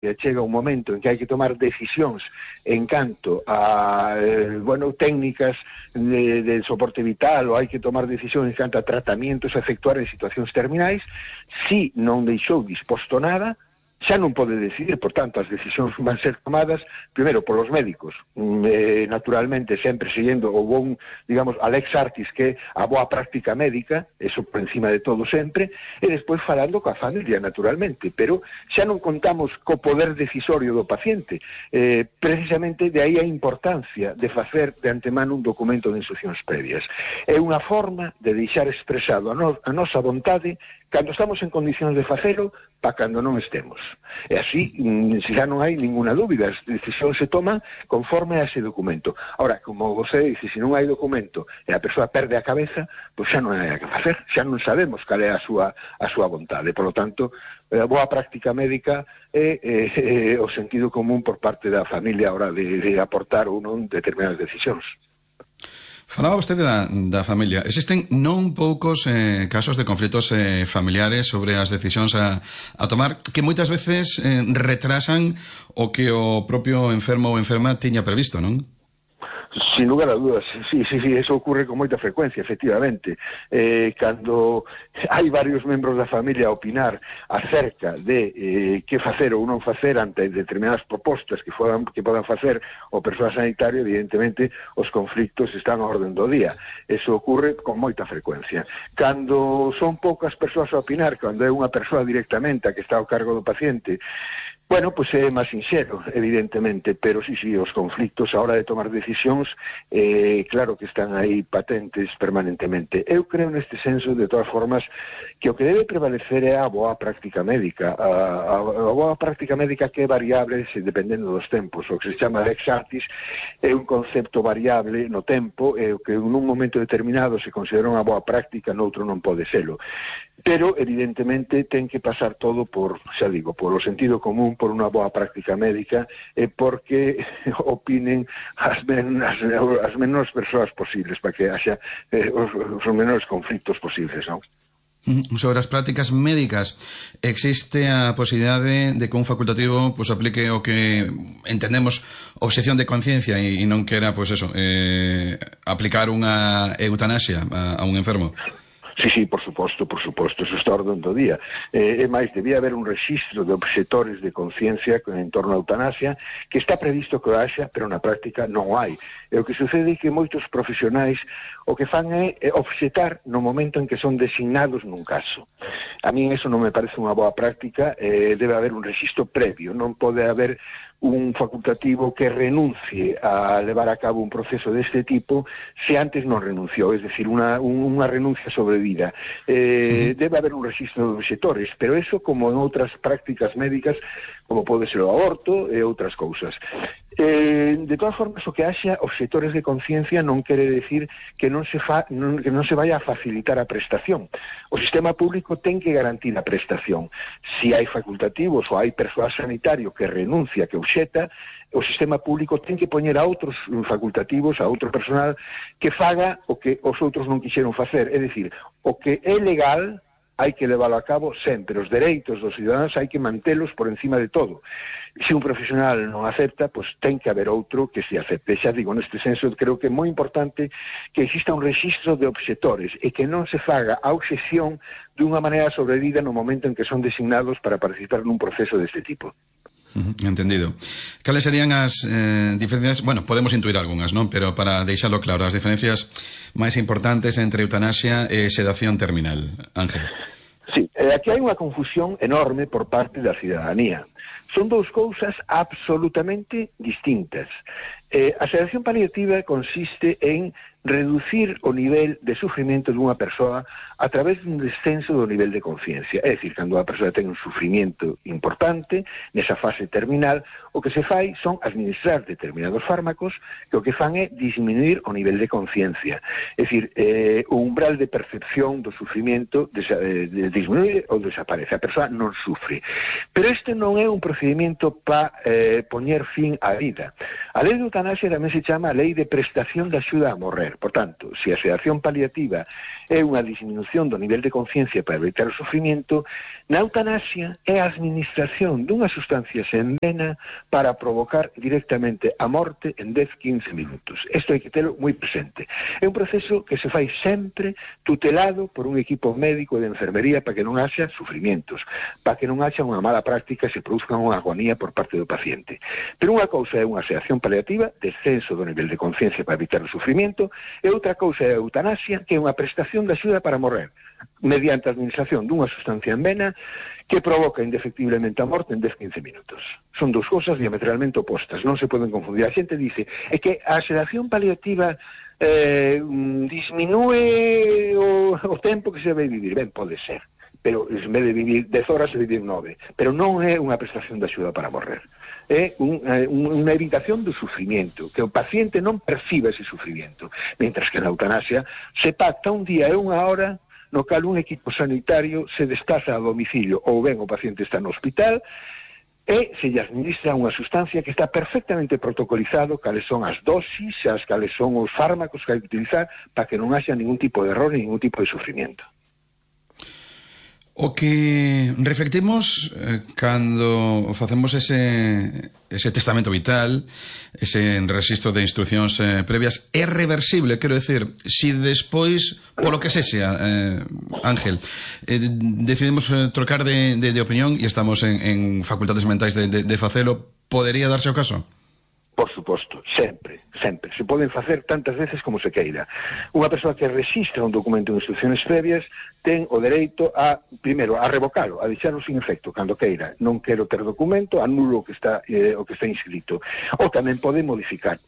chega un momento en que hai que tomar decisións en canto a técnicas de soporte vital, ou hai que tomar decisións en canto a tratamientos a efectuar en situacións terminais, si non deixou disposto nada, xa non pode decidir. Por tanto, as decisións van ser tomadas primeiro polos médicos, naturalmente sempre seguindo o bon, digamos, a lex artis, que é a boa práctica médica, eso por encima de todo sempre, e despois falando coa familia, naturalmente, pero xa non contamos co poder decisorio do paciente. Precisamente de aí a importancia de facer de antemano un documento de instruccións previas. É unha forma de deixar expresado a nosa vontade cando estamos en condicións de facelo, para cando non estemos. E así, xa non hai ninguna dúbida, as decisións se toman conforme a ese documento. Ahora, como você dice, se non hai documento e a persoa perde a cabeza, pois xa non hai que facer, xa non sabemos cal é a súa vontade. Por lo tanto, a boa práctica médica é o sentido común por parte da familia a hora de aportar ou non determinadas decisións. Falaba vostede da familia. Existen non poucos casos de conflitos familiares sobre as decisións a tomar que moitas veces retrasan o que o propio enfermo ou enferma tiña previsto, non? Sin lugar a dudas, sí, eso ocurre con moita frecuencia, efectivamente. Cando hai varios membros da familia a opinar acerca de que facer ou non facer ante determinadas propostas que podan facer o persoal sanitario, evidentemente os conflictos están a orden do día. Eso ocurre con moita frecuencia. Cando son poucas persoas a opinar, cando é unha persoa directamente a que está ao cargo do paciente, bueno, pois é máis sinxero, evidentemente, pero sí, os conflictos a hora de tomar decisións, claro que están aí patentes permanentemente. Eu creo neste senso, de todas formas, que o que debe prevalecer é a boa práctica médica. A boa práctica médica que é variable dependendo dos tempos. O que se chama lex artis é un concepto variable no tempo, e o que en un momento determinado se considera unha boa práctica, noutro non pode selo. Pero, evidentemente, ten que pasar todo por, xa digo, por o sentido común, por unha boa práctica médica, e porque opinen as menores persoas posibles, para que haxa os menores conflictos posibles, non? Sobre as prácticas médicas, existe a posibilidade de que un facultativo aplique o que entendemos obxección de conciencia e non quera, aplicar unha eutanasia a un enfermo? Sí, por suposto, eso está a orden do día. É máis, debía haber un rexistro de obxectores de conciencia en torno á eutanasia, que está previsto que o haxa, pero na práctica non hai. E o que sucede é que moitos profesionais o que fan é obxetar no momento en que son designados nun caso. A mí eso non me parece unha boa práctica, debe haber un rexistro previo, non pode haber un facultativo que renuncie a levar a cabo un proceso deste tipo se antes non renunciou, es decir, unha renuncia sobrevida. Debe haber un rexistro de obxectores, pero eso como en outras prácticas médicas, como pode ser o aborto e outras cousas. De todas formas, o que haxa obxectores de conciencia non quere decir que non se vaya a facilitar a prestación. O sistema público ten que garantir a prestación. Si hai facultativos ou hai persoal sanitario que renuncia, que obxeta, o sistema público ten que poñer a outros facultativos, a outro personal, que faga o que os outros non quixeron facer. É dicir, o que é legal hai que leválo a cabo sempre. Os dereitos dos ciudadanos hai que mantelos por encima de todo. Se un profesional non acepta, pois ten que haber outro que se acepte. Xa digo, neste senso, creo que é moi importante que exista un rexistro de obxectores e que non se faga a obxección dunha maneira sobrevida no momento en que son designados para participar nun proceso deste tipo. Entendido. Cales serían as diferencias? Bueno, podemos intuir algunhas, non? Pero para deixarlo claro, as diferencias máis importantes entre eutanasia e sedación terminal. Ángel. Sí, aquí hai unha confusión enorme por parte da cidadanía. Son dous cousas absolutamente distintas. A sedación paliativa consiste en reducir o nivel de sufrimento dunha persoa a través dun descenso do nivel de conciencia. É dicir, cando a persoa ten un sufrimento importante, nesa fase terminal, o que se fai son administrar determinados fármacos que o que fan é disminuir o nivel de conciencia. É dicir, o umbral de percepción do sufrimento disminuye ou desaparece. A persoa non sufre. Pero este non é un procedimento para poñer fin á vida. A lei de eutanasia tamén se chama a lei de prestación de axuda a morrer. morrer. Por tanto, se a sedación paliativa é unha disminución do nivel de conciencia para evitar o sufrimento, na eutanasia é a administración dunhas sustancias en vena para provocar directamente a morte en 10-15 minutos. Isto hai que telo moi presente. É un proceso que se fai sempre tutelado por un equipo médico de enfermería para que non haxa sufrimientos, para que non haxa unha mala práctica e se produzca unha agonía por parte do paciente. Pero unha cousa é unha sedación paliativa, descenso do nivel de conciencia para evitar o sufrimiento, e outra cousa é a eutanasia, que é unha prestación de axuda para morrer, mediante a administración dunha sustancia en vena que provoca indefectiblemente a morte en 10-15 minutos. Son dous cousas diametralmente opostas, non se poden confundir. A xente dice é que a sedación paliativa disminúe o tempo que se vai vivir. Ben, pode ser, pero en vez de vivir 10 horas se vivir 9, pero non é unha prestación de axuda para morrer. É unha evitación do sufrimiento, que o paciente non perciba ese sufrimiento, mentras que na eutanasia se pacta un día e unha hora no cal un equipo sanitario se desplaza a domicilio, ou ben o paciente está no hospital, e se lle administra unha sustancia que está perfectamente protocolizado, cales son as dosis, cales son os fármacos que hai que utilizar, para que non haxa ningún tipo de error, ningún tipo de sufrimiento. O que reflectimos cando facemos ese testamento vital, ese registro de instruccións previas, é reversible, quero decir, si despois, polo que sexa, Ángel, decidimos trocar de opinión e estamos en facultades mentais de facelo, podería darse o caso? Por suposto, sempre, sempre. Se poden facer tantas veces como se queira. Unha persoa que rexistra un documento de instrucciones previas ten o dereito a, primeiro, a revocalo, a deixarlo sin efecto, cando queira. Non quero ter documento, anulo o que está inscrito. Ou tamén pode modificarlo.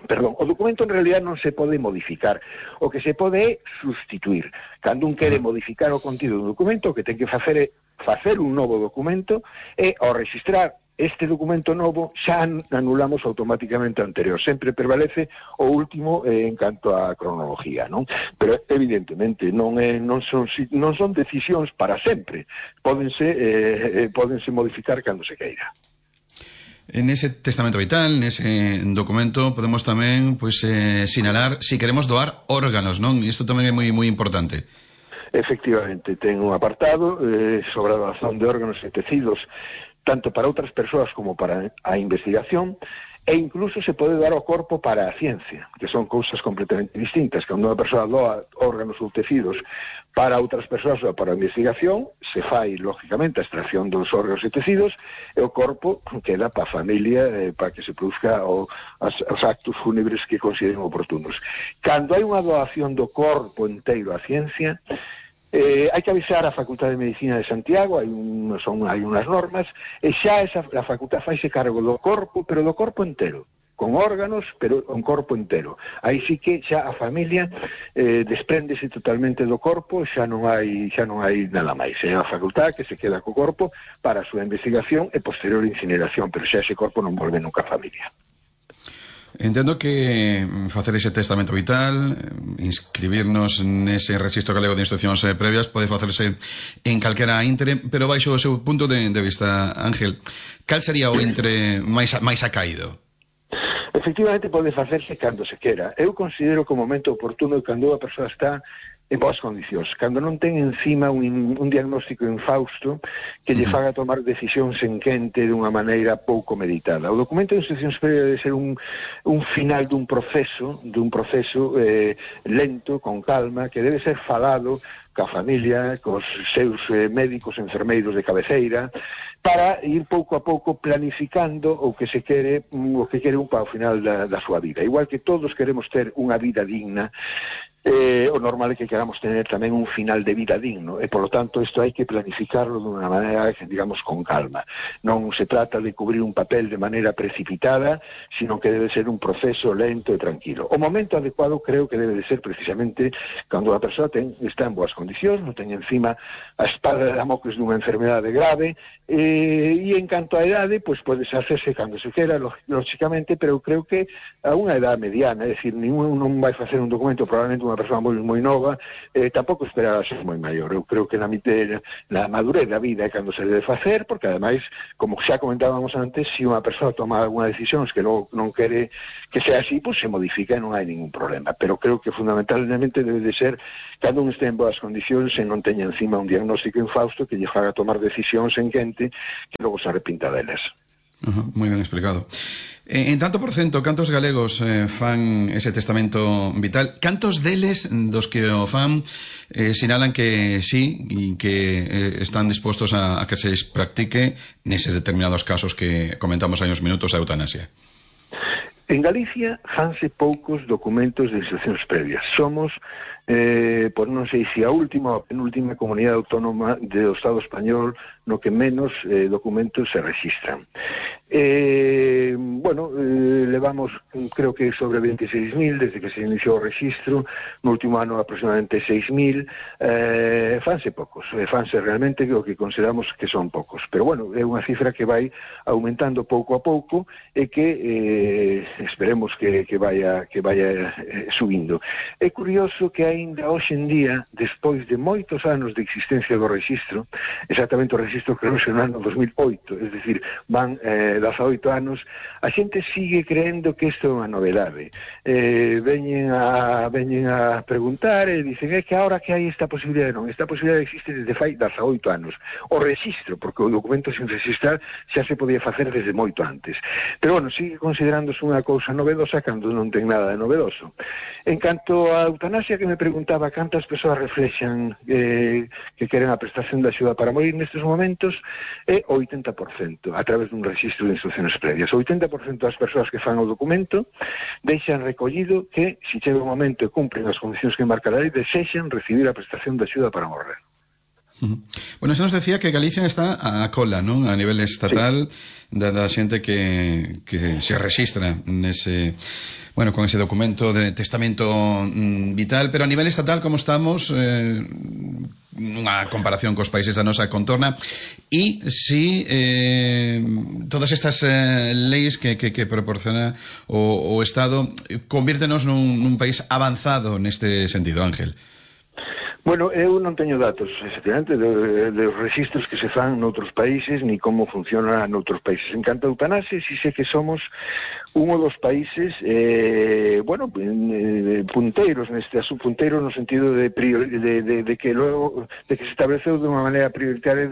Perdón, o documento en realidad non se pode modificar. O que se pode é sustituir. Cando un quere modificar o contido do documento, o que ten que facer é facer un novo documento e, ao registrar este documento novo, xa anulamos automáticamente o anterior. Sempre prevalece o último en canto á cronología, non? Pero, evidentemente, non son decisións para sempre. Pódense modificar cando se queira. En ese testamento vital, nese documento, podemos tamén sinalar si queremos doar órganos, non? Isto tamén é moi importante. Efectivamente, ten un apartado sobre a doación de órganos e tecidos, tanto para outras persoas como para a investigación, e incluso se pode dar o corpo para a ciencia, que son cousas completamente distintas. Cando unha persoa doa órganos ou tecidos para outras persoas ou para a investigación, se fai, lógicamente, a extracción dos órganos e tecidos, e o corpo queda para a familia, para que se produzca os actos fúnebres que consideren oportunos. Cando hai unha doación do corpo inteiro á ciencia, hai que avisar a Facultade de Medicina de Santiago, hai unhas normas, e xa a facultade faise cargo do corpo, pero do corpo entero, con órganos, pero un corpo entero. Aí sí que xa a familia despréndese totalmente do corpo, xa non hai nada máis. É a facultade que se queda co corpo para a súa investigación e posterior incineración, pero xa ese corpo non volve nunca a familia. Entendo que facer ese testamento vital, inscribirnos nese registro galego de instruccións previas, pode facerse en calquera íntere, pero baixo o seu punto de vista, Ángel, cal sería o íntere máis acaído? Efectivamente, pode facerse cando se quera. Eu considero que o momento oportuno é cando a persoa está en boas condicións, cando non ten encima un diagnóstico infausto que lle faga tomar decisións en quente dunha maneira pouco meditada. O documento de instruccións previas debe ser un final dun proceso lento, con calma, que debe ser falado ca familia, cos seus médicos, enfermeiros de cabeceira, para ir pouco a pouco planificando o que quere un para o final da súa vida. Igual que todos queremos ter unha vida digna, o normal é que queramos tener tamén un final de vida digno, e polo tanto isto hai que planificarlo dunha maneira, digamos, con calma. Non se trata de cubrir un papel de maneira precipitada, sino que debe ser un proceso lento e tranquilo. O momento adecuado creo que debe de ser precisamente cando a persoa está en boas condicións, non ten encima a espada de Damocles dunha enfermedade grave, e en canto a idade, pois pode hacerse cando se quera, lógicamente, pero creo que a unha edad mediana, é dicir, non vai facer un documento probablemente unha unha persoa moi nova, tampouco esperar a ser moi maior. Eu creo que na madurez da vida é cando se debe facer, porque ademais, como xa comentábamos antes, se unha persoa toma alguna decisión que non quere que sea así, pois se modifica e non hai ningún problema. Pero creo que fundamentalmente debe de ser cando un este en boas condicións e non teña encima un diagnóstico infausto que lle faga tomar decisións en quente que logo se arrepinta delas. Moi ben explicado. En tanto por cento, cantos galegos fan ese testamento vital? Cantos deles dos que o fan sinalan que sí e que están dispostos a que se practique neses determinados casos que comentamos hai uns minutos a eutanasia? En Galicia fanse poucos documentos de instruccións previas. Somos, por non sei se a última ou penúltima comunidade autónoma do Estado español no que menos documentos se registran. Levamos, creo que sobre 26.000 desde que se iniciou o registro, no último ano aproximadamente 6.000, fanse poucos, fanse realmente o que consideramos que son poucos, pero bueno, é unha cifra que vai aumentando pouco a pouco e que esperemos que vaya subindo. É curioso que aínda hoxe en día, despois de moitos anos de existencia do registro, exactamente o registro creouse no ano 2008, es decir, van 18 anos, a xente sigue creendo que isto é unha novedade. Veñen a preguntar e dicen que ahora que hai esta posibilidade. Non, esta posibilidade existe desde fai 18 anos. O registro, porque o documento sin registrar xa se podía facer desde moito antes. Pero bueno, sigue considerándose unha cousa novedosa cando non ten nada de novedoso. En canto a eutanasia, que me preguntaba cantas persoas reflexan que queren a prestación de axuda para morir nestes momentos, é o 80%, a través dun registro de instruccións previas. O 80% das persoas que fan o documento deixan recollido que, se chega o momento e cumpren as condicións que marca a lei, desexan recibir a prestación de axuda para morrer. Bueno, se nos decía que Galicia está a cola, non? A nivel estatal, sí, da xente que se registra nese, bueno, con ese documento de testamento vital, pero a nivel estatal, como estamos, unha comparación cos países da nosa contorna, e si todas estas leis que proporciona o Estado convírtenos nun país avanzado neste sentido, Ángel. Bueno, eu non teño datos, efectivamente, dos registros que se fan noutros países, ni como funciona noutros países. En canto a eutanasia, si sé que somos un dos países, punteiros neste asunto, punteiros no sentido de que logo, de que se estableceu de unha maneira prioritaria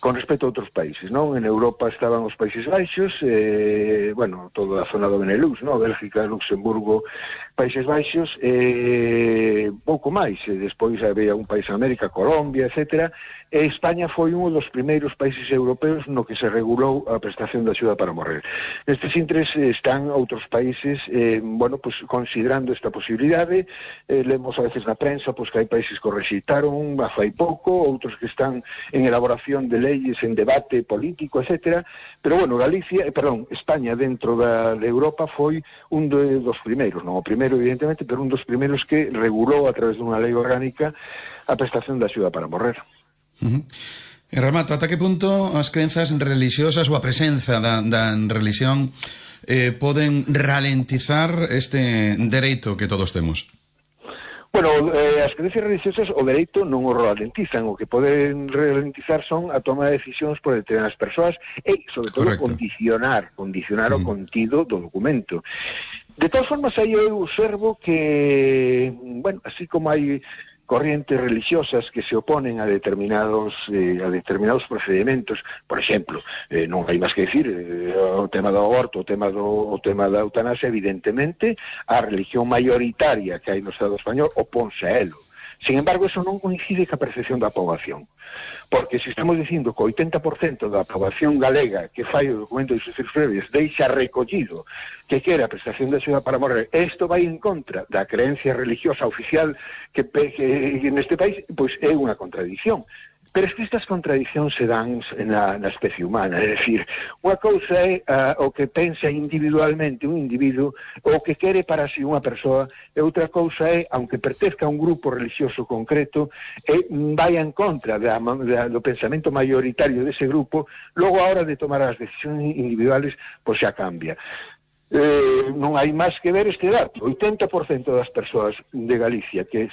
con respecto a outros países, non? En Europa estaban os Países Baixos, toda a zona do Benelux, non? Bélgica, Luxemburgo, Países Baixos, pouco máis, despois había un país en América, Colombia, etcétera, e España foi un dos primeiros países europeos no que se regulou a prestación de axuda para morrer. Nestes intres están outros países, considerando esta posibilidade, lemos a veces na prensa, que hai países que o rexeitaron a fai pouco, outros que están en elaboración de leyes, en debate político, etcétera, pero bueno, España dentro de Europa foi un dos primeiros, non o primeiro evidentemente, pero un dos primeiros que regulou a través dunha lei orgánica a prestación de axuda para morrer. En remato, ata que punto as crenzas religiosas ou a presenza da religión poden ralentizar este dereito que todos temos? Bueno, as creencias religiosas o dereito non o ralentizan, o que poden ralentizar son a toma de decisións por determinadas persoas e, sobre todo, condicionar o contido do documento. De todas formas, aí eu observo que, así como hai corrientes religiosas que se oponen a determinados procedimentos, por exemplo, non hai máis que dicir, o tema do aborto, o tema da eutanasia, evidentemente, a religión maioritaria que hai no Estado español oponse a elo. Sin embargo, eso non coincide ca percepción da poboación. Porque se estamos dicindo que o 80% da poboación galega que fai o documento de instruccións previas deixa recollido que quere a prestación de axuda para morrer, isto vai en contra da creencia religiosa oficial que neste país, pois é unha contradición. Pero es que estas contradicións se dan na especie humana, é dicir, unha cousa é o que pensa individualmente un individuo, o que quere para si unha persoa, e outra cousa é, aunque pertezca a un grupo religioso concreto, vai en contra do pensamento maioritario dese grupo, logo a hora de tomar as decisións individuales, pois xa cambia. Non hai máis que ver este dato. 80% das persoas de Galicia que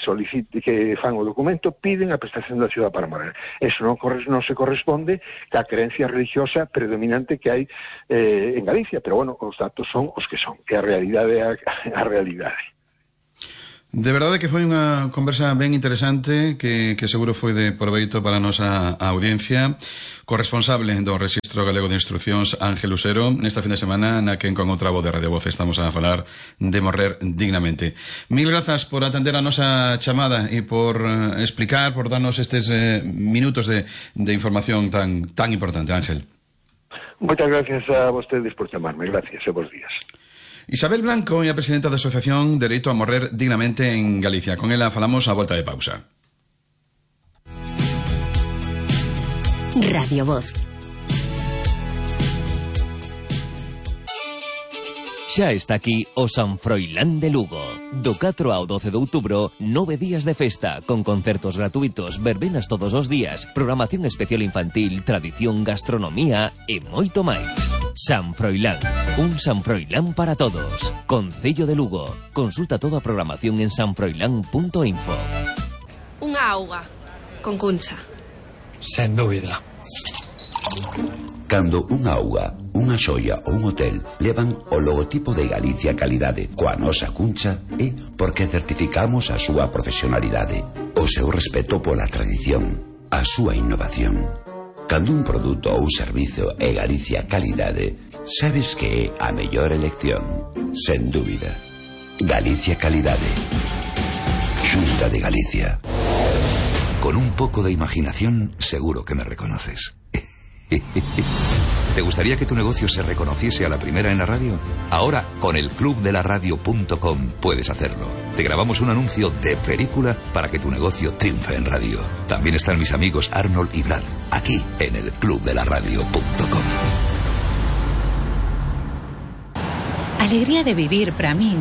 fan o documento piden a prestación da axuda para morar. Eso non se corresponde ca creencia religiosa predominante que hai en Galicia, pero bueno, os datos son os que son, que a realidade é a realidade. De verdade que foi unha conversa ben interesante que seguro foi de proveito para a nosa audiencia. Corresponsable do Rexistro Galego de Instruccións, Ángel Usero, nesta fin de semana na que con outra voz de Radio Voz estamos a falar de morrer dignamente. Mil grazas por atender a nosa chamada e por explicar, por darnos estes minutos de información tan importante, Ángel. Moitas gracias a vostedes por chamarme. Gracias e bons días. Isabel Blanco é a presidenta da Asociación Dereito a Morrer Dignamente en Galicia. Con ela falamos a volta de pausa. Radio Voz. Xa está aquí o San Froilán de Lugo. Do 4 ao 12 de outubro, 9 días de festa, con concertos gratuitos, verbenas todos os días, programación especial infantil, tradición, gastronomía e moito máis. San Froilán, un San Froilán para todos. Concello de Lugo. Consulta toda a programación en sanfroilán.info. Unha auga, con cuncha. Sen dúbida. Cando unha auga, unha xoia ou un hotel levan o logotipo de Galicia Calidade coa nosa cuncha é porque certificamos a súa profesionalidade, o seu respeto pola tradición, a súa innovación. Cando un produto ou servizo é Galicia Calidade, sabes que é a mellor elección, sen dúbida. Galicia Calidade. Xunta de Galicia. Con un poco de imaginación, seguro que me reconoces. ¿Te gustaría que tu negocio se reconociese a la primera en la radio? Ahora, con el clubdelaradio.com puedes hacerlo. Te grabamos un anuncio de película para que tu negocio triunfe en radio. También están mis amigos Arnold y Brad, aquí en el clubdelaradio.com. Alegría de vivir para min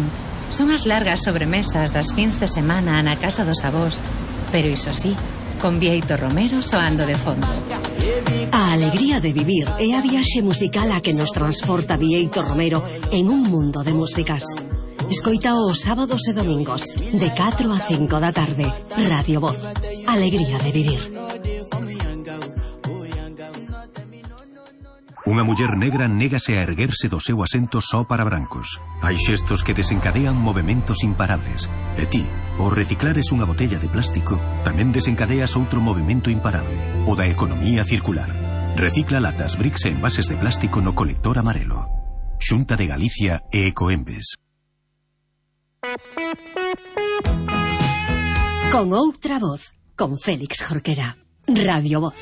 son as largas sobremesas das fins de semana na casa dos avós, pero iso sí, con Bieito Romero soando de fondo. A alegría de vivir é a viaxe musical a que nos transporta Bieito Romero en un mundo de músicas. Escoita os sábados e domingos de 4 a 5 da tarde. Radio Voz. Alegría de vivir. Unha muller negra négase a erguerse do seu asento só para brancos. Hai xestos que desencadean movementos imparables. E ti, ao reciclares unha botella de plástico, tamén desencadeas outro movimento imparable, o da economía circular. Recicla latas, bricks e envases de plástico no colector amarelo. Xunta de Galicia e Ecoembes. Con outra voz, con Félix Jorquera. Radio Voz.